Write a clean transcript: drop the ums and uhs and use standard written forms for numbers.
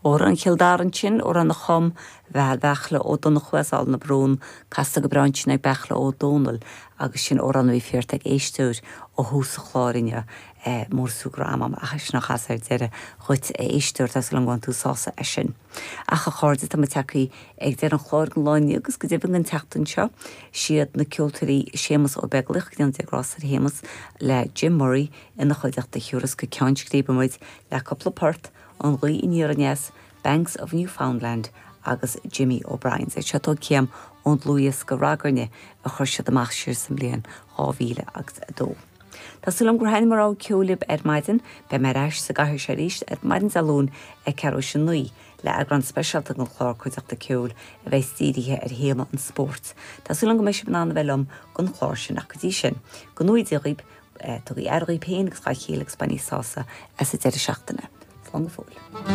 Amhrán Chill Dara ansin, amhrán a chum Beal Beartla Ó Donnchú as Aill na Brún, casta go breá ansin ag Beartla Ó Dónaill agus sin amhrán a bhí fiarta ag éisteoir ó thús an chláir inniu, Mórasú go raibh a'm ach é sin a chasadh ar deireadh dhuit a éisteoir, tá súil agam go mbainfidh tú sásamh as sin. Ach a chairde, tá muid tagtha ag deireadh an chláir don lá inniu agus go deimhin don tseachtain seo, siad na ceoltóirí Séamus Ó Beaglaoich, go ndéana Dia grásta ar Shéamus, le Jim Murray ina chuideachta a thiúrfas go ceann scríbe muid le cúpla port, An Ghaoth Aniar Aneas, Banks of Newfoundland agus Jimmy O'Brien's. Seo tógtha ón dlúthdhiosca Ragairne a chuir siad amach siar sa mbliain 2000 agus 2. Tá súil agam gur thaitin mo rogha ceoil libh ar maidin. Beidh mé ar ais sa gcathaoir seo arís ar maidin Dé Luain ag ceathrú théis a 9 le eagrán speisialta den chlár Cuideachta Ceoil a bheas dírithe ar théama an spóirt. Tá súil agam go mbeidh sibh in ann a bheith liom don chlár sin ach go dtí sin, go ngnóthaí Dia dhaoibh, Tugaigí aire dhaoibh féin agus dá chéile agus bainigí sásamh as an deireadh seachtaine. Slán go fóill.